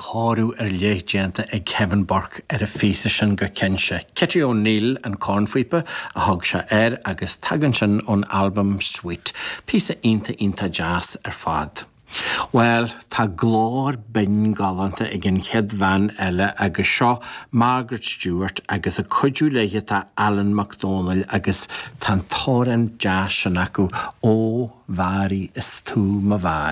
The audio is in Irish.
Cóiriú ar leith déanta ag Kevin Burke ar an phíosa sin go cinnte. Kitty O'Neill an cornphíopa a thug sé air agus tagann sin ón albam Sweet. Píosa iontach iontach deas ar fad. Bhuel, tá glór binn galánta ag an chéad bhean eile agus seo Margaret Stewart agus ag cuidiú léi tá Alan Mac Dónaill agus tá an t-amhrán deas sin acu, Ó Mhary is tú mo Mhary.